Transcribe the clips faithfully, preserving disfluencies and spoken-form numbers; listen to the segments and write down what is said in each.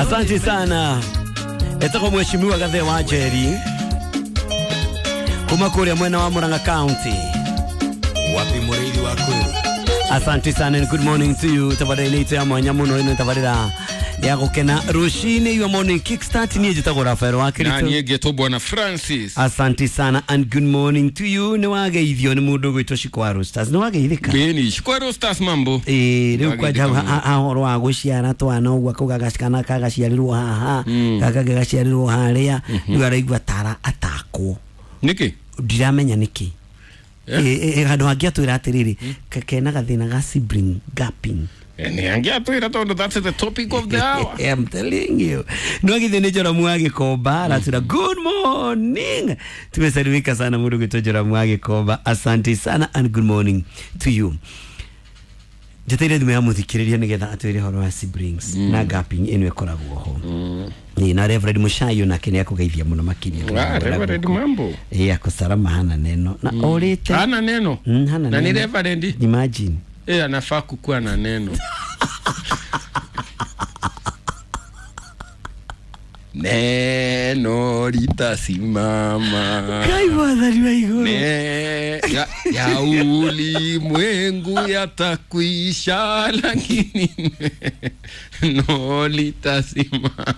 Asante sana. Etako mheshimiwa Gathe wa Njeri kuma kuria mwena wa Murang'a County. Wapi murithi wa kweru. Asante sana and good morning to you. Tabarira ito ya mwanya muno ino tabarira ya gukena rushini your morning kickstart ni njitagwo Rafael wa Kirito. Na niĩ ngĩtwo Bwana Francis. Asante sana and good morning to you. Ni wageithio ni mundu gwitwo Shikwa Roasters. Ni wageithika. Beni Shikwa Roasters mambo. Eh riu kwanja hahoro wa guciara twana uguo akauga gacikana kagaciarirwo haha gaka gagaciarirwo haria riu araigua tara atakwo. Niki? Ndiramenya niki. Eh handu hangi atwira atiriri kena gathina ga sibling gapping. Ni angiatwira tondu that's the topic of the hour. I'm telling you. No githe ni Joramu wa Gikomba aratwira good morning. Tumesalimika sana mundu gwitwo Joramu wa Gikomba. Asante sana and good morning to you. Njeteire thimu ya muthikiriria nigetha atwire horo wa siblings na gapping ino ikoragwo ho. Ni na Reverend Mushayo nake ni akugeithia muno makiria. Ah, Reverend mambo. Eh akusarama hana neno na orite. Hana neno. Mm, hana na neno. Ni Reverend. Imagine. Eh anafaa kukua na neno. Neno litasimama. Kai mwathani wa iguru. Ne ya, ya ulimwengu yatakwisha lakini neno litasimama.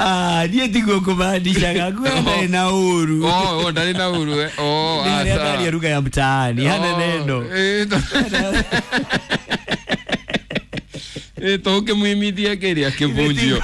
Ah, niĩ tiguo kũmaanishaga kuo ndarĩ na ũru. Oh, oh, ndarĩ na ũru eh. Oh, asa. Nĩ lugha ya mtaani, hana neno. Eh, eh toke muimithia kĩrĩa kĩbunjio.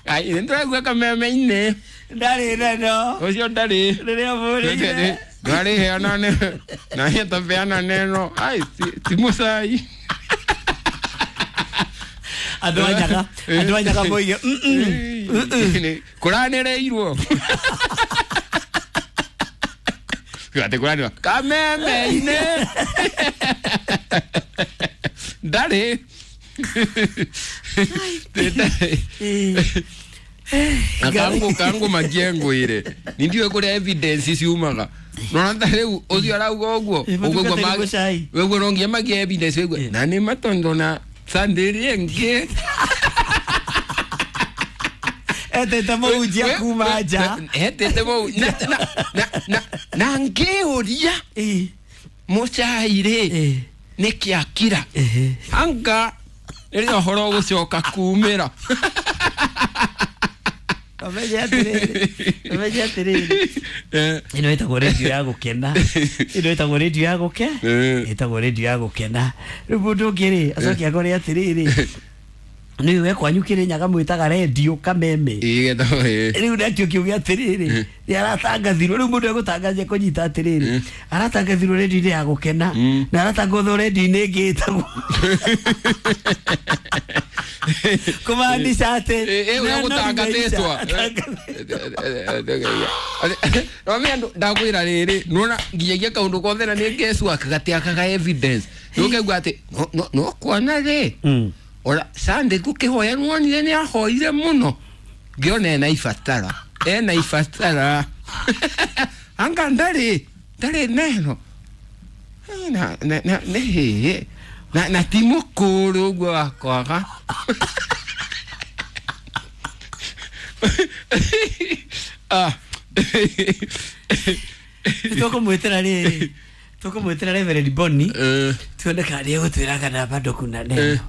Ai, nĩndĩraigua kameme-inĩ. Ndarĩ neno. Ũcio ndarĩ. Rĩrĩa bũrĩire. Ndarĩ heana neno. Na hetapeana neno. Ai, ti mũcai. Andũ a Nyaga, andũ a Nyaga moige mm kũranĩrĩirwo. Atĩ kũranĩrwo kameme-inĩ. Ndarĩ. Na kangu kangu makiengwire. Nindiwe kũrĩa evidence ciumaga. Nona ta rĩu ũcio arauga ũguo ũguo ũguo no nginya magie evidence ũguo. Na nĩ matondo na Sunday ĩngĩ. Etete mũhunjia kuma nja. Etete mũhu na na na na ngĩũria mũcai rĩ nĩkĩ akira. Anga rĩrĩa ũhoro ũgũcoka kumĩra. Ũmenye atĩrĩrĩ, ũmenye atĩrĩrĩ. Ĩno ĩtagwo radio ya gũkena. Ĩno ĩtagwo radio ya gũke. Ĩtagwo radio ya gũkena. Rĩu mũndũ ũngĩ rĩ acoke akore atĩrĩrĩ. Nĩ we kwanyu Kĩrĩnyaga mwĩtaga radio kameme. Rĩu nakĩo kiuge atĩrĩrĩ nĩ aratangathirwo. Rĩu mũndũ egũtangathia kũnyita atĩrĩrĩ aratangathirwo radio-inĩ ya gũkena na aratangathwo radio-inĩ ĩngĩ ĩtagwo kumaanisha atĩ ũrĩa gũtangathĩtwo. No me andu ndakwĩra rĩrĩ nĩwona nginyagia kaũndũ kothe na nĩ ngecua gatiakaga evidence. Nĩũkaigua atĩ no kuona rĩ ora Sunday gũkĩhoya nĩwonire nĩ ahoire mũno ngĩona ena ibatara ena ibatara anga ndarĩ ndarĩ neno na na na nĩ na na ti mũkũrũ ũguo wa kwaga. Ah. Tũkũmwĩtĩra rĩrĩ tũkũmwĩtĩra Reverend Bonnie tuone kana nĩegũtwĩra kana bado kuna neno.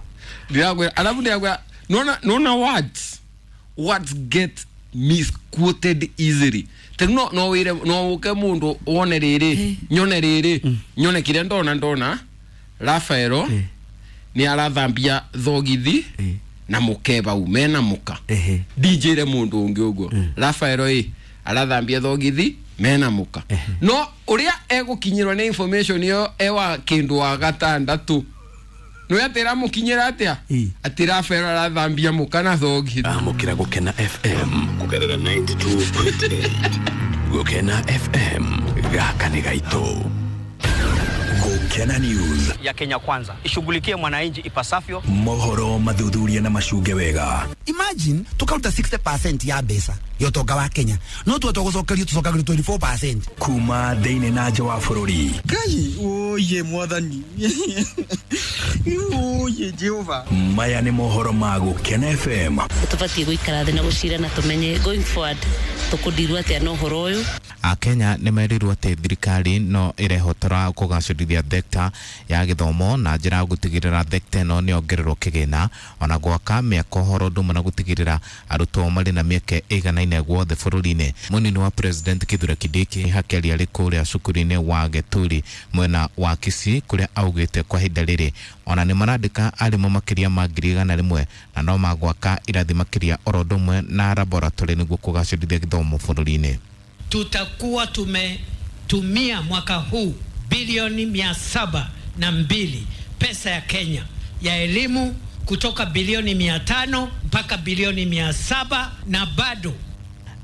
Ndirakwĩra alafu ndirakwĩra nona nona words words get misquoted easily. Tegu no no wire no uke mundu wone riri nyone riri nyone kiria ndona ndona Rafaelo ni arathambia thogithi na mukeba ume na muka D J re mundu ungi uguo Rafaelo i arathambia thogithi mena muka no uria egukinyirwo ni information iyo ewa kindu wa gatandatu no atira mukinyira atia ati Rafaelo arathambia muka na thogithi. Amukira Gukena F M kugerera ninety-two point eight Gukena F M gaka ni gaito. Gukena Gukena News ya Kenya Kwanza ishughulikie mwananchi ipasavyo. Mohoro mathuthuria na macunge wega. Imagine tukaruta sixty percent ya mbeca ya utonga wa Kenya no tuhote gucokerio tucokagĩrio twenty-four percent kuma thĩinĩ na nja wa bũrũri. Ngai oye mwathani oye Jehova. Maya nĩ mohoro ma Gukena F M. Tũbatiĩ gũikara thĩ na gũcira na tũmenye going forward tũkũndirwo atĩa na ũhoro ũyũ. Akenya nĩ merirwo atĩ thirikari no ĩrehotora kũgacĩrithia thekta ya gĩthomo na njĩra ya gũtigĩrĩra thekta ĩno nĩ yongererwo kĩgĩna ona gwaka mĩako horo ũndũ ũmwe na gũtigĩrĩra arutwo marĩ na mĩeke ĩiganaine guothe bũrũri-inĩ. Mũnini wa President Kithure Kindiki hakĩaria arĩ kũrĩa cukuru-inĩ wa Geturi mwena wa Kisii kũrĩa augĩte kwa ihinda rĩrĩ ona nĩ marandĩka arimũ makĩria ma ngiri igana rĩmwe na no magwaka irathi makĩria oro ũndũ ũmwe na laboratory nĩguo kũgacĩrithia gĩthomo bũrũri-inĩ. Tutakuwa tumetumia mwaka huu bilioni mia saba na mbili pesa ya Kenya ya elimu kutoka bilioni mia tano mpaka bilioni mia saba na bado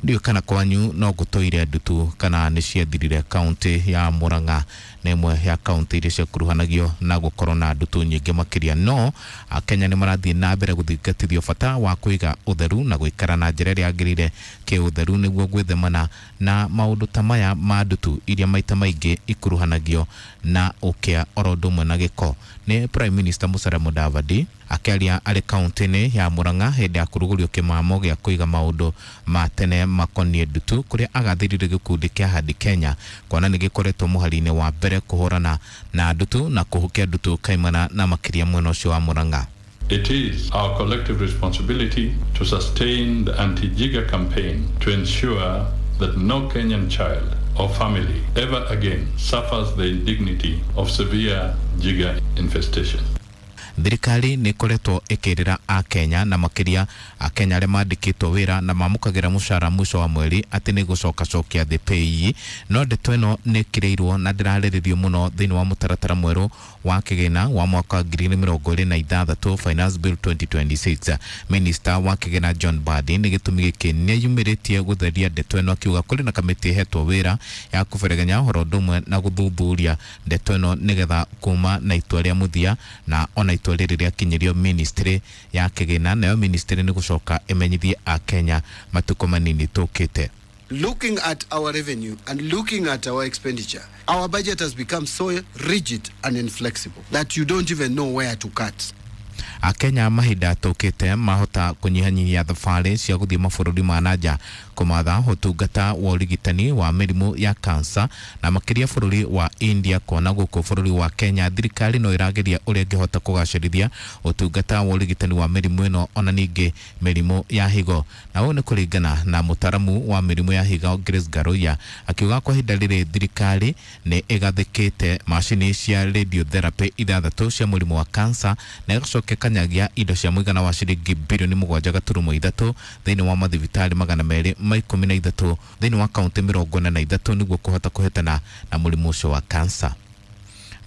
ndio kana kwanyu no gutoire ndutu kana nĩ ciathirire. Kaunti ya Murang'a nĩ ĩmwe ya kaunti iria ciakuruhanagio na gũkorwo na ndutu nyingĩ makĩria, no Akenya nĩ marathiĩ na mbere gũthingatithio bata wa kũiga ũtheru na gũikara na njĩra ĩrĩa yagĩrĩire kĩũtheru nĩguo gwĩthemana na maũndũ ta maya ma ndutu iria maita maingĩ ikuruhanagio na ũkĩa oro ũndũ ũmwe na gĩko. Nĩ Prime Minister Musalia Mudavadi akĩaria arĩ kaunti-inĩ ya Murang'a hĩndĩ ya kũrugũrio kĩmamo gĩa kũiga maũndũ ma tene makoniĩ ndutu kũrĩa agathĩrire gĩkundi kĩa Hadi Kenya kuona nĩ gĩkoretwo mũhari-inĩ wa mbere kũhũrana na ndutu na kũhukia ndutu kaimana na makĩria mwena ũcio wa Murang'a. It is our collective responsibility to sustain the anti-jigger campaign to ensure that no Kenyan child or family ever again suffers the indignity of severe jigger infestation. Thirikari nĩ ĩkoretwo ĩkĩrĩra Akenya na makĩria Akenya arĩa mandĩkĩtwo wĩra na mamũkagĩra mũcara mũico wa mweri atĩ nĩ gũcokacokia thĩ P A Y E, no ndeto ĩno nĩ ĩkĩrĩirwo na ndĩrarĩrĩrio mũno thĩinĩ wa mũtaratara mwerũ wa kĩgĩna wa mwaka wa ngiri igĩrĩ mĩrongo ĩrĩ na ithathatũ Finance Bill twenty twenty-six. Minister wa kĩgĩna John Mbadi nĩ gĩtũmi gĩkĩ nĩeyumĩrĩtie gũtheria ndeto ĩno akiuga kũrĩ na kamĩtĩ ĩhetwo wĩra ya kũberegenya ũhoro ũndũ ũmwe na gũthuthuria ndeto ĩno nĩgetha kuma na itua rĩa mũthia na ona itua rĩrĩ rĩakinyĩrio ministry ya kĩgĩna nayo ministry nĩ gũcoka ĩmenyithie Akenya matukũ manini tũkĩte. Looking at our revenue and looking at our expenditure, our budget has become so rigid and inflexible that you don't even know where to cut. Akenya mahinda tũkĩte mahota kũnyihanyihia thabarĩ cia gũthiĩ mabũrũri ma nanja kũmatha ũtungata wa ũrigitani wa mĩrimũ ya kansa na makĩria bũrũri wa India kuona gũkũ bũrũri wa Kenya thirikari no ĩrageria ũrĩa ĩngĩhota kũgacĩrithia ũtungata wa ũrigitani wa mĩrimũ ĩno ona ningĩ mĩrimũ ya higo. Na ũũ nĩ kũringana na mũtaramu wa mĩrimũ ya higo Grace Ngaruiya akiuga kwa ihinda rĩrĩ thirikari nĩ ĩgathĩkĩte macini cia radiotherapy ithathatũ cia mũrimũ wa kansa na ĩgacoka ĩkanyagia indo cia mũigana wa ciringi bilioni mũgwanja gaturumo ithatũ thĩinĩ wa mathibitarĩ magana merĩ ma ikũmi na ithatũ thĩinĩ wa kaunti mĩrongo ĩna na ithatũ nĩguo kũhota kũhetana na mũrimũ ũcio wa kansa.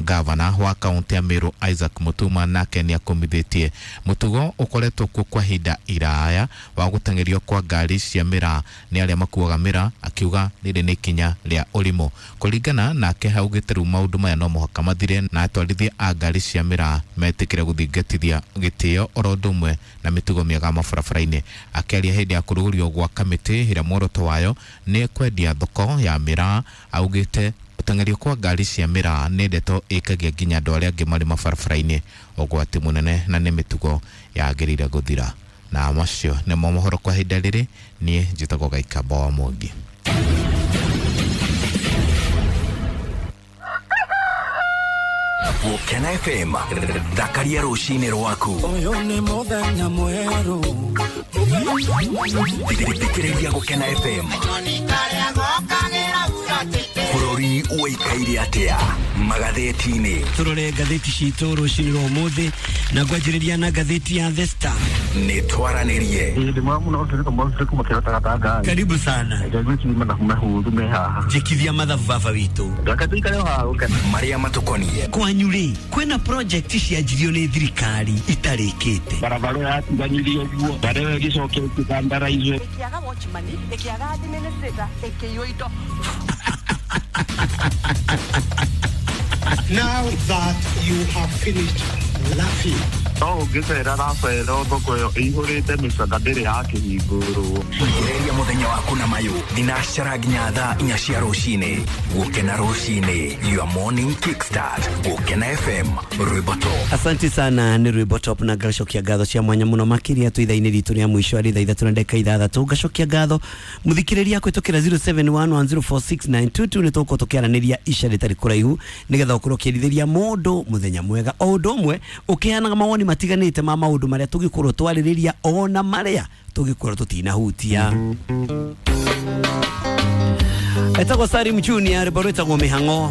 Gavana wa kaunti ya Meru Isaac Mutuma nake nĩ akomithĩtie mũtugo ũkoretwo kuo kwa ihinda iraya wa gũteng'erio kwa ngari cia mĩraa nĩ arĩa makuaga mĩraa akiuga rĩrĩ nĩ ikinya rĩa ũrimũ. Kũringana nake haugĩte rĩu maũndũ maya no mũhaka mathire na atwarithia a ngari cia mĩraa metĩkĩre gũthingatithia gĩtĩo oro ũndũ ũmwe na mĩtugo mĩega mabarabara-inĩ. Akĩaria hĩndĩ ya kũrugũrio gwa kamĩtĩ ĩrĩa muoroto wayo nĩ kwendia thoko ya mĩraa augĩte gũteng'erio kwa ngari cia mĩraa nĩ ndeto ĩkagia nginya andũ arĩa angĩ marĩ mabarabara-inĩ ũgwati mũnene na nĩ mĩtugo yagĩrĩire gũthira. Na macio nĩmo mohoro kwa ihinda rĩrĩ. Niĩ njĩtagwo Gaikamba wa Mwangi. Gukena F M thakaria rũcinĩ rwaku. Ũyũ nĩ mũthenya mwerũ. Thikĩrĩria Gukena F M. Bũrũri ũikaire atĩa magathĩti-inĩ? Tũrore ngathĩti citũ rũcinĩ rwa ũmũthĩ na ngwanjĩrĩria na ngathĩti ya The Star. Nĩ twaranĩrie. Karibu sana. Njĩkithia mathabu baba witũ. Marĩa matũkoniĩ. Kwanyu rĩ kwĩna project cianjirio nĩ thirikari itarĩkĩte. Barabara yatiganyirio ũguo barabara ĩgĩcokia ĩkĩthandaraizwo. Ĩkĩaga watchman, ĩkĩaga administrator, ĩkĩiywo indo. Now that you have finished laughing. No ũngĩcera racera thoko ĩyo ĩihũrĩte mĩcaka ndĩrĩ yakĩhingũrwo. Ambĩrĩria mũthenya waku na mayũ thinacara nginya thaa inya cia rũcinĩ. Gũkena rũcinĩ, your morning kickstart. Gũkena F M, rwĩmbo top. Asante sana nĩ rwĩmbo top na ngacokia ngatho cia mwanya mũno makĩria twĩ ithaa-inĩ ritũ rĩa mũico arĩ thaa ithatũ na ndagĩka ithathatũ. Ngacokia ngatho mũthikĩrĩria kũhĩtũkĩra zero seven one one zero four six nine two two nĩ tũgũkorwo tũkĩaranĩria ica rĩtarĩ kũraihu nĩgetha ũkorwo ũkĩrithĩria mũndũ mũthenya mwega o ũndũ ũmwe ũkĩheanaga mawoni matiganĩte ma maũndũ marĩa tũgĩkorwo twarĩrĩria ona marĩa tũgĩkorwo tũtinahutia. Etagwo Salim Junior, rwĩmbo rwĩtagwo Mĩhang'o.